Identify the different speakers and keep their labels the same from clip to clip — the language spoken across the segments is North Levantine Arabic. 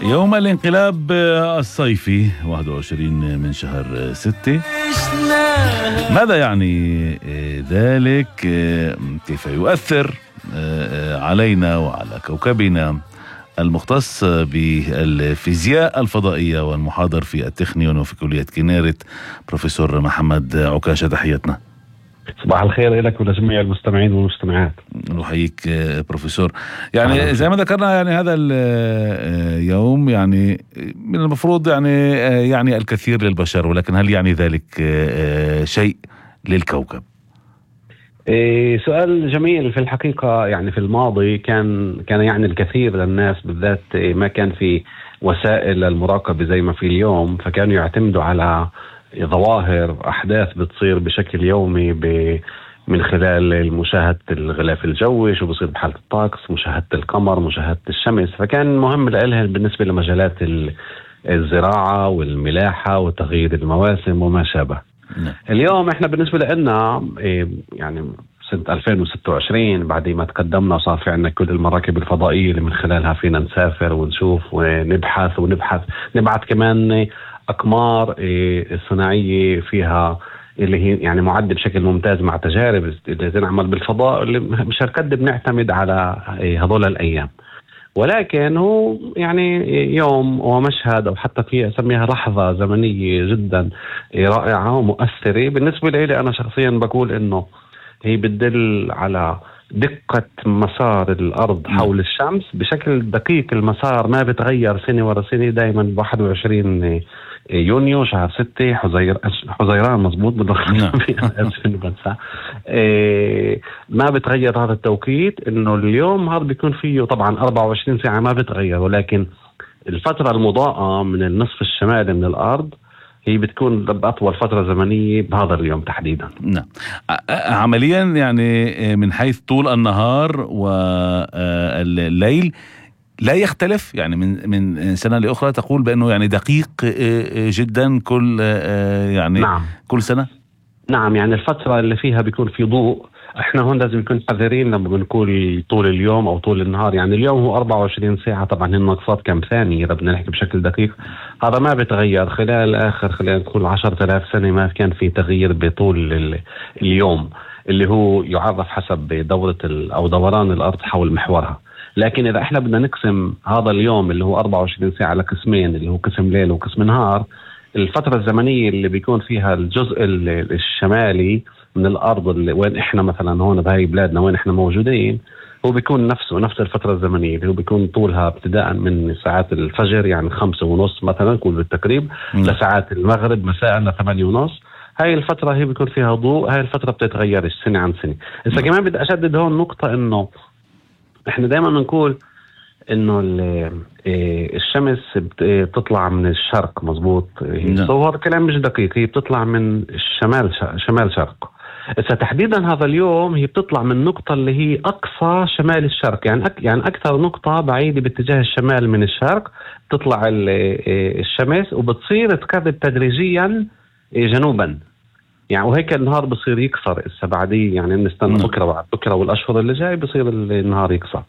Speaker 1: يوم الانقلاب الصيفي 21 من شهر 6. ماذا يعني ذلك؟ كيف يؤثر علينا وعلى كوكبنا؟ المختص بالفيزياء الفضائية والمحاضر في التكنيون وفي كلية كنيرت بروفيسور محمد عكاشة، تحياتنا.
Speaker 2: صباح الخير لك ولجميع المستمعين والمستمعات.
Speaker 1: نحييك بروفيسور. يعني زي ما ذكرنا، يعني هذا اليوم يعني من المفروض يعني الكثير للبشر، ولكن هل يعني ذلك شيء للكوكب؟
Speaker 2: سؤال جميل. في الحقيقة يعني في الماضي كان يعني الكثير للناس، بالذات ما كان في وسائل المراقبة زي ما في اليوم، فكانوا يعتمدوا على ظواهر أحداث بتصير بشكل يومي من خلال مشاهدة الغلاف الجوي، شو بصير بحالة الطقس، مشاهدة القمر، مشاهدة الشمس. فكان مهم لهم بالنسبة لمجالات الزراعة والملاحة وتغيير المواسم وما شابه. اليوم احنا بالنسبة لنا يعني سنة 2026 بعد ما تقدمنا وصار في عنا كل المراكب الفضائية اللي من خلالها فينا نسافر ونشوف ونبحث نبعث كمان أقمار صناعية فيها اللي هي يعني معدة بشكل ممتاز مع تجارب اللي تنعمل بالفضاء، اللي مش هالقد بنعتمد على هذول الأيام. ولكن هو يعني يوم ومشهد، أو حتى في أسميها لحظة زمنية جدا رائعة ومؤثرة. بالنسبة لي أنا شخصيا بقول إنه هي بتدل على دقة مسار الأرض حول الشمس بشكل دقيق. المسار ما بتغير سنة ورا سنة، دايما 21 يونيو شهر 6 حزيران مزبوط ما بتغير هذا التوقيت. انه اليوم هذا بيكون فيه طبعا 24 ساعة ما بتغير، ولكن الفترة المضاءة من النصف الشمالي من الأرض هي بتكون بأطول فترة زمنية بهذا اليوم تحديدا.
Speaker 1: نعم. عمليا يعني من حيث طول النهار والليل لا يختلف، يعني من سنة لأخرى تقول بأنه يعني دقيق جدا كل يعني
Speaker 2: نعم.
Speaker 1: كل سنة.
Speaker 2: نعم، يعني الفترة اللي فيها بيكون في ضوء. احنا هون لازم نكون حذرين لما بنقول طول اليوم او طول النهار. يعني اليوم هو 24 ساعة، طبعا النقصات كم ثانية اذا بدنا نحكي بشكل دقيق. هذا ما بتغير خلال خلينا نقول 10,000 سنة ما كان في تغيير بطول اليوم، اللي هو يعرف حسب دورة او دوران الارض حول محورها. لكن اذا احنا بدنا نقسم هذا اليوم اللي هو 24 ساعة لقسمين، اللي هو قسم ليل وقسم نهار، الفترة الزمنية اللي بيكون فيها الجزء الشمالي من الأرض اللي وين إحنا مثلا هون بهاي بلادنا وين إحنا موجودين، هو بيكون نفس الفترة الزمنية اللي هو بيكون طولها ابتداء من ساعات الفجر يعني 5:30 مثلا كل بالتقريب لساعات المغرب مساء ل8:30. هاي الفترة هي بيكون فيها ضوء. هاي الفترة بتتغير سنة عن سنة. إذا كمان بدي أشدد هون نقطة، إنه إحنا دائما نقول إنه الشمس بتطلع من الشرق مزبوط. هو هذا كلام مش دقيق. هي بتطلع من الشمال شمال شرق. إذا تحديدا هذا اليوم هي بتطلع من نقطة اللي هي أقصى شمال الشرق، يعني أكثر نقطة بعيدة باتجاه الشمال من الشرق. تطلع الشمس وبتصير تقرب تدريجيا جنوبا، يعني وهيك النهار بصير يكسر. بعديه يعني نستنى بكرة بعد بكرة والأشهر اللي جاي بصير النهار يكسر.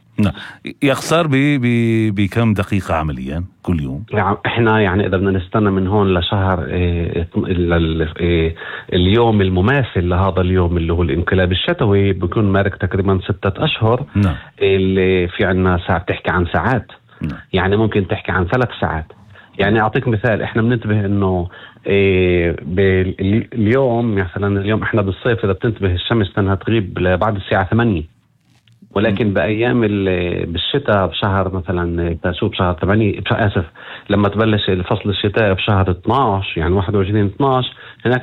Speaker 1: يخسر بكم دقيقة عمليا كل يوم؟
Speaker 2: يعني احنا يعني اذا بدنا نستنى من هون لشهر اليوم المماثل لهذا اليوم اللي هو الانقلاب الشتوي بيكون مارك تقريبا 6 أشهر. اللي في عنا ساعة بتحكي عن ساعات. يعني ممكن تحكي عن 3 ساعات. يعني أعطيك مثال، إحنا بننتبه إنه اليوم مثلا اليوم إحنا بالصيف إذا بتنتبه الشمس تنها تغيب بعد الساعة 8، ولكن بأيام بالشتاء بشهر مثلا تشوف بشهر 8 لما تبلش الفصل الشتاء بشهر 12 يعني 21/12 هناك